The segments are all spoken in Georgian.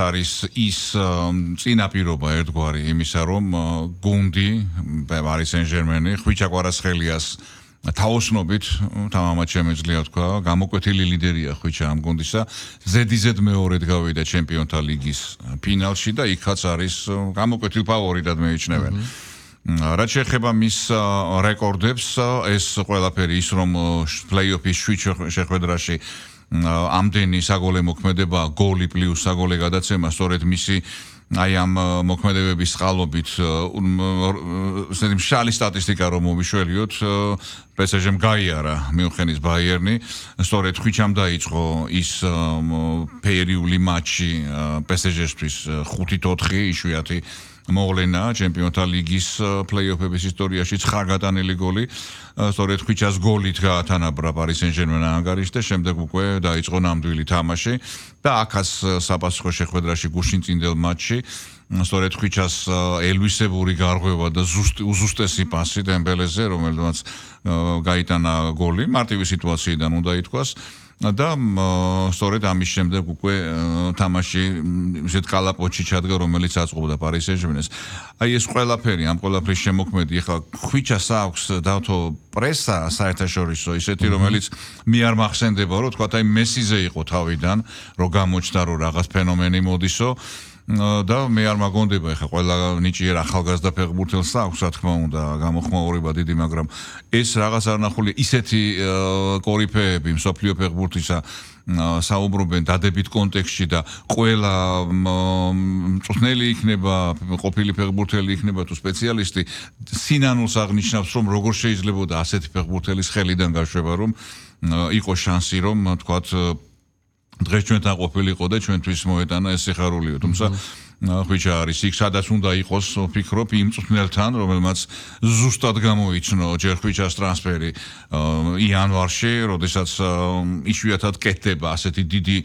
არის ის წინაპირობა ერთგვარი იმისა, რომ გუნდი Paris Saint-Germain ხვიჩა კვარაცხელიას თაოსნობით თამამად შემეძლია თქვა, გამოკვეთილი ლიდერია ხვიჩა ამ გუნდისა, ზედიზედ მეორედ გავიდა ჩემპიონთა ლიგის ფინალში და იქაც არის გამოკვეთილ ფავორიტად მეიჩნევენ. რაც შეეხება მის რეკორდებს, ეს ყველაფერი ის რომ პლეიოფის შეხვედრაში ამდენი საგოლე მოქმედება, გოლი პლუს საგოლე გადაცემა, სწორედ მისი აი ამ მოქმედებების წყალობით მშრალი სტატისტიკა რომ მოვიშველიოთ, PSG-მ გაიარა მიუნხენის ბაიერნი, სწორედ ხვიჩამ დაიწყო ის ფერიული მატჩი PSG-ისთვის 5-4 იშვიათი მოვლენა ჩემპიონთა ლიგის პლეიოფების ისტორიაში 9 გატანილი გოლი, სწორედ ხვიჩას გოლით გაათანაბრა Paris Saint-Germain ანგარიშს და შემდეგ უკვე დაიწყო ნამდვილი თამაში და აქაც საპასუხო შეხვედრაში გუშინწინდელ მატჩში სწორედ ხვიჩას ელვისებური გარღვევა და უზუსტესი პასი დემბელეზე, რომელმაც გაიტანა გოლი, მარტივი სიტუაციიდან უნდა ითქვას. და სწორედ ამის შემდეგ უკვე თამაში ისეთ კალაპოტში ჩადგა, რომელიც აწყობდა Paris Saint-Germain-ს. აი ეს ყველაფერი, ამ ყველაფრის შემოქმედი, ეხლა ხვიჩას აქვს დავთო პრესა საერთაშორისო, ისეთი რომელიც მე არ მახსენდება, რომ თქვა აი მესიზე იყო თავიდან, რომ გამოჩნდა რომ რაღაც ფენომენი მოდისო. და მე არ მაგონდება ეხა ყველა ნიჭიერ ახალგაზრდა ფეხბურთელს აქვს, რა თქმა უნდა, გამოხმაურება დიდი, მაგრამ ეს რაღაც არნახული ისეთი კორიფეები მსოფლიო ფეხბურთისა საუბრობენ დადებით კონტექსტში და ყველა მწვრთნელი იქნება, ყოფილი ფეხბურთელი იქნება თუ სპეციალისტი, სინანულს აღნიშნავს, რომ როგორ შეიძლებოდა ასეთი ფეხბურთელის ხელიდან გაშვება, რომ იყო შანსი, რომ თქვათ დღეს ჩვენთან ყოფილიყო და ჩვენთვის მოეტანა ეს სიხარულიო, თუმცა ხვიჩა არის იქ, სადაც უნდა იყოს, ვფიქრობ, იმ მწვრთნელთან, რომელმაც ზუსტად გამოიცნო ჯერ ხვიჩას ტრანსფერი იანვარში, როდესაც იშვიათად კეთდება ასეთი დიდი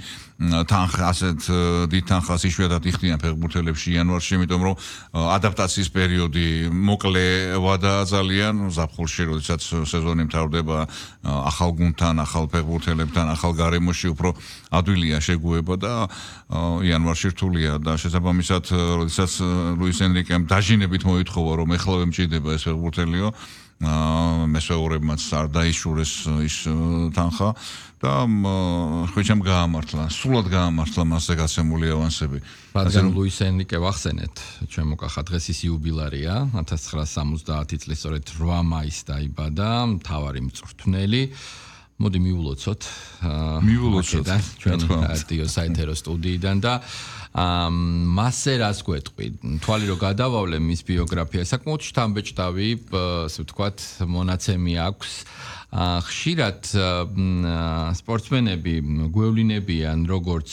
თანხა, ასეთ დიდ თანხას იშვიათად იხდიან ფეხბურთელებში იანვარში, იმიტომ რომ ადაპტაციის პერიოდი მოკლევა და ძალიან ზაფხულში, როდესაც სეზონი მთავრდება ახალ გუნდთან, ახალ ფეხბურთელებთან, ახალ გარემოში უფრო ადვილია შეგუება და იანვარში რთულია და შესაბამისად, როდესაც ლუის ენრიკემ დაჟინებით მოითხოვა, რომ ეხლავე მჭირდება ეს ფეხბურთელიო, მესვეურებმაც არ დაიშურეს ის თანხა და ხვიჩამ გაამართლა, სრულად გაამართლა მასზე გაცემული ავანსები. რადგან ლუის ენრიკე ვახსენეთ, ჩემო კახა დღეს ის იუბილარია, 1970 წლის სწორედ 8 მაისს დაიბადა, მთავარი მწვრთნელი. მოდი მივულოცოთ ჩვენ რადიო საინტერესო სტუდიიდან და მასზე რას გვეტყვი? თვალი რომ გადავავლე მის ბიოგრაფია, საკმაოდ შთამბეჭდავი, ასე ვთქვათ, მონაცემი აქვს. ხშირად სპორტსმენები გვევლინებიან როგორც